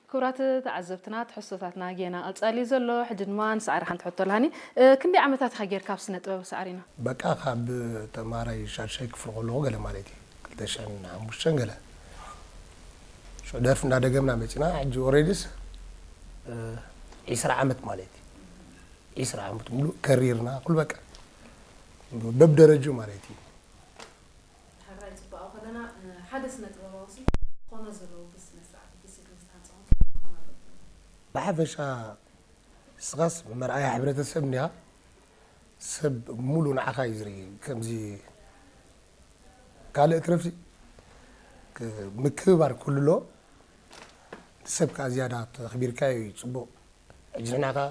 ክቡራት ተዓዘብትና፣ ትሕዝቶታትና ጌና ቀጻሊ እዩ ዘሎ። ሕጂ ድማ ንሳዕሪ ሓንቲ ሕቶ ኣላኒ። ክንደይ ዓመታት ኢኻ ጌርካ ኣብ ስነ ጥበብ ሳዕሪና? በቃ ካብ ተማሃራይ ሻድሻይ ክፍሊ ከለኹ ገለ ማለት እዩ፣ ክልተ ሽሕን ሓሙሽተን ገለ ሽዑ ደርፊ እንዳደገምና መጺና። ሕጂ ኦሬዲስ ዒስራ ዓመት ማለት እዩ። ዒስራ ዓመት ሙሉእ ከሪርና ኩሉ በቃ በብደረጅኡ ማለት እዩ። ሕራይ ጽባቐ ከለና፣ ሓደ ስነ ጥበባዊ ሲ ኮነ ዘለዎ ብስነ ስርዓት ዲሲፕሊን ዝተሃንጸ ክኸውን ኣለዎ። ብሓፈሻ ንስኻስ መርኣያ ሕብረተሰብ እንዲኻ። ሰብ ሙሉ ንዓኻ እዩ ዝርኢ። ከምዚ ካልእ ትረፍሲ ክ-፣ ምክብባር ኩሉ ኣሎ። ንሰብ ከኣ ዝያዳ ተኽቢርካዮ እዩ ጽቡቕ። ሕጂ ንሕና ከኣ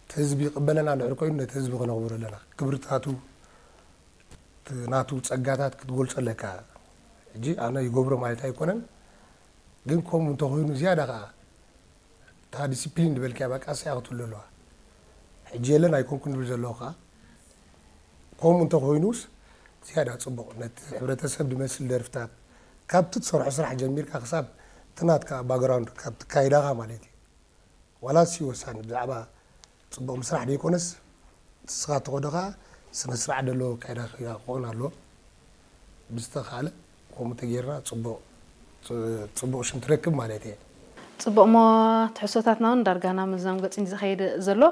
እቲ ህዝቢ ይቕበለና እንድሕር ኮይኑ ነቲ ህዝቢ ከነኽብሮ ኣለና። ክብርታቱ፣ እቲ ናቱ ጸጋታት ክትገልጾ ኣለካ። ሕጂ ኣነ ይገብሮ ማለት ኣይኮነን፣ ግን ከምኡ እንተኾይኑ ዝያዳ ከኣ እታ ዲሲፕሊን ዝበልካያ በቃ እሳ ክትህሉ ኣለዋ። ሕጂ የለን ኣይኮንኩን ዝብል ዘለኹ ከኣ ከምኡ እንተኾይኑስ ዝያዳ ጽቡቕ። ነቲ ሕብረተሰብ ዝመስል ደርፍታት ካብቲ ትሰርሖ ስራሕ ጀሚርካ ክሳብ እቲ ናትካ ባክግራውንድ ካብ ትካይዳኻ ማለት እዩ። ዋላ ሲ ወሳኒ ብዛዕባ ጽቡቕ ምስራሕ ዘይኮነስ ንስኻ ተኾዶ ከኣ ስነ ስርዓት ዘለዎ ኣካይዳ ክኸውን ኣለዎ። ብዝተኻለ ከምኡ ተጌርና ጽቡቕ፣ ጽ-፣ ጽቡቕ ሽም ትረክብ ማለት እየ። ጽቡቕ እሞ ትሕዝቶታትና እውን ዳርጋ ናብ ምዝዛም ገጽ እዩ ዝኸይድ ዘሎ።